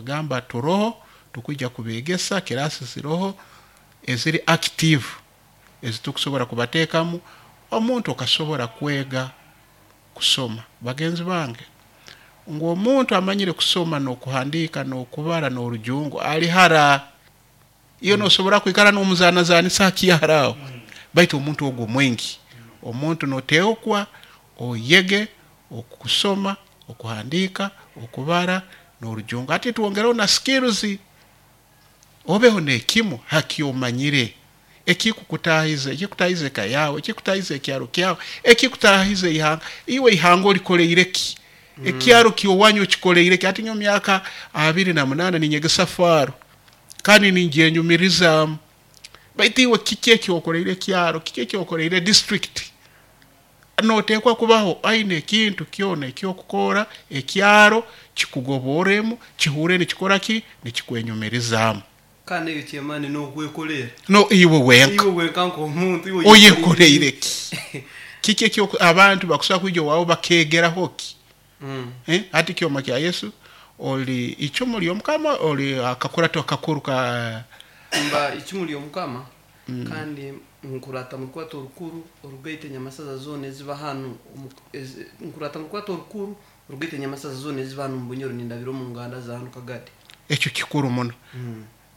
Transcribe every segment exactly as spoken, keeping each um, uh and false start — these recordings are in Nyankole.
Nabagamba turoho, tukwija kubegesa, kirasi ziroho eziri active ezitukusobora kubateekamu. Omuntu okasobora kwega kusoma. Bagenzi bange, ngu omuntu amanyire kusoma n'okuhandiika n'okubara n'orujungu ali hara. Iyo nosobora kwikara n'omuzanazanisa hakihara aho, baitu omuntu ogwo mwingi. Omuntu noteekwa oyege okusoma, okuhandiika, okubara n'orujungu. Hati twongereho na skills, obeho n'ekimu hakyomanyire ekikukutahiza, ekikutahiza eka yawe, ekikutahiza ekyaro kyawe, ekikutahiza ihanga. Iwe ihanga olikoleire ki? Ekyaro kyowanyu okikoleire ki? Hati nyowe myaka abiri na munaana ninyegesa faro kandi ningyenyumirizaamu, baitu iwe kiki ekyokoleire ekyaro, kiki ekyokoleire district? Noteekwa kubaho aine ekintu kyona ekyokukora ekyaro kikugoboremu, kihure nikikora ki, nikikwenyumirizaamu. Kandi ekyo kyemani n'okwekolera. No iwe wenka. Iwe wenka nk'omuntu iwe oyekoleire ki? Kiki ekyo abantu bakusobola kwija owaawe bakegeraho ki? Mm. Eh, hati kyoma kya Yesu oli icumu ly'omukama, oli akakurato akakuru ka Mba icumu ly'omukama, kandi nkurata mu rukurato orukuru orugaita enyamasaza zoona eziba hanu omu- ezi- nkurata mu rukurato orukuru orugaita enyamasaza zoona eziba hanu mu Bunyoro, nindabira omu nganda za hanu Kagadi. Ekyo kikuru muno.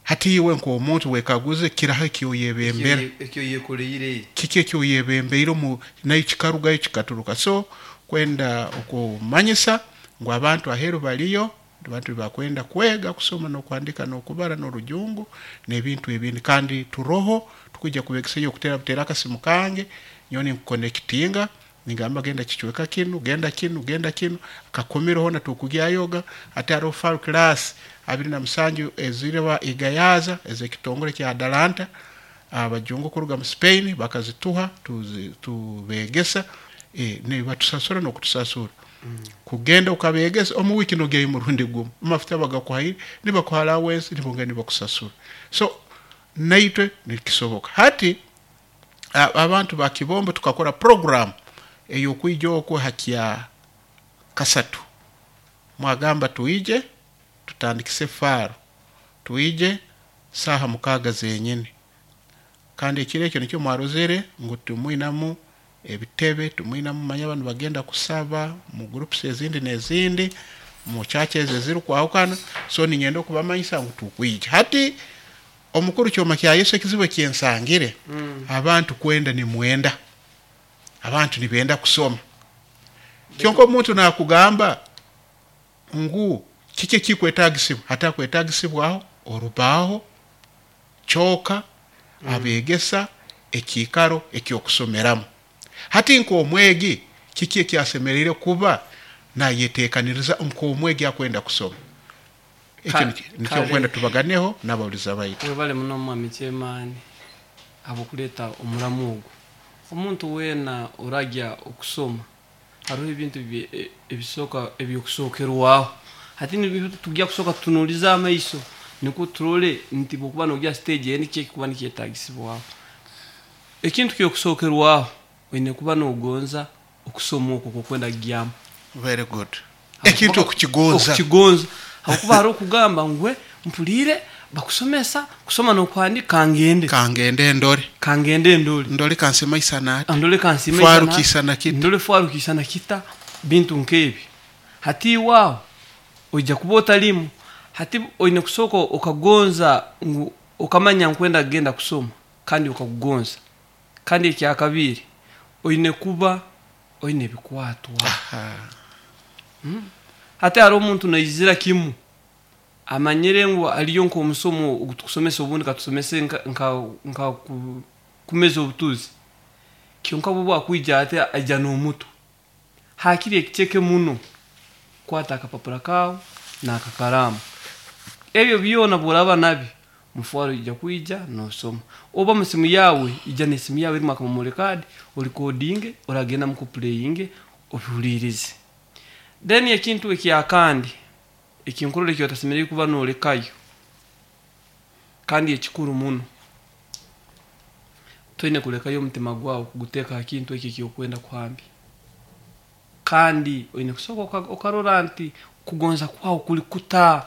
Hati iwe nk'omuntu wekaguze kiraho ekyoyebembera, ekyo yekoleire, kiki ekyoyebembeire omu nayo kikarugayo kikaturuka. So kwenda okumanyisa ngu abantu aheeru baliyo, abantu bakwenda kwega kusoma n'okuhandika n'okubara n'orujungu n'ebintu ebindi, kandi turoho tukwija kubegesayo. Okutera butera akasimu kange, nyowe ninkuconnectinga, ningamba genda kicweka kinu, genda kinu, genda kinu, kakomero hona tukugyayoga. Hati hariho far class abiri na musanju eziriba igayaza ez'ekitongole kya Atalanta, abajungu kuruga mu Spain bakazituha, tuzi- tubegesa, e, nibatusasura n'okutusasura kugenda ukabegesa. Omu wiki nogyayo murundi gumu, amafuta bagakuhaire, nibakuha allowance, nibongera nibakusasura. So naitwe nikisoboka. Hati a- abantu ba Kibombo tukakora program ey'okwija okwo hakya kasatu. Mwagamba tuije tutandikise faro, tuije saaha mukaaga zenyini, kandi ekiro ekyo nikyo mwarozere ngu tumwinamu ebitebe, tumwinamu manya abantu bagenda kusaba mu groups ezindi n'ezindi mu churches ezirikwahukana. So ninyenda okubamanyisa ngu tukwija. Hati omukuru kyoma kya Yesu, ekizibu ekyensangire, abantu kwenda nimwenda, abantu nibenda kusoma, kyonka omuntu nakugamba ngu kiki ekikwetagisibwa, hatakwetagisibwaho orubaho kyoka, abegesa, ekiikaro ekyokusomeramu. Hati nk'omwegi kiki ekyasemereire kuba nayetekaniriza nk'omwegi akwenda kusoma? Ekyo Ka- nikyo nikyo kale. nkwenda tubaganeho n'abawuliza baitu. Webale muno mwami kyemaani habwokuleeta omuramu ogwo. Omuntu weena oragya okusoma, hariho ebintu bye- e- ebisooka ebyokusookerwaho. Hati nibyo tujya kusooka tutunuulize amaiso nikwo turole nti bwokuba nogya stage eyo niki ekikuba nikyetagisibwaho. Ekintu kyokusookerwaho, oine kuba nogonza okusoma okwo kwokwenda kugyamu. Very good. Ekintu okukigonza. Okukigonza, habwokuba hariho okugamba ngwe mpuliire bakusomesa kusoma n'okuhandika, kangende. Kangende ndore. Kangende ndole. Ndole kansemaisana ati. Ndole kansima. Faru kisana kita. Ndole faru kisana kita, bintu nk'ebi. Hati iwaawo ojja kuba otalimu. Hati oine kusooka okagonza ngu okamanya nkwenda kugenda kusoma kandi okakugonza. Kandi ekyakabiri, oine kuba oine ebikwatwa. Aha. Hati hariho omuntu naizira kimu amanyire ngu aliyo nk'omusomo ogutukusomesa, obundi katusomese nka, nka, nka ku- kumeza obutuzi, kyonka bwe bwakwija ate aija n'omutwe hakiri ekiceke muno. Kwata akapapura kaawe n'akakaraamu, ebyo byona bworaba nabyo mufwaro ija kwija nosoma, oba musimu yawe, ija n'esimu yawe erimu akamemory card, orecordinge, oragenda mukuplayinge obihuliirize. Then ekintu ekyakandi ekinkurora ekyotasemereire kuba nolekayo, kandi ekikuru muno, toine kulekayo omutima gwawe kuguteeka ha kintu ekyo ekyokwenda kuhambya. Kandi oine kusooka oka- okarora nti kugonza kwawe kuli kuta.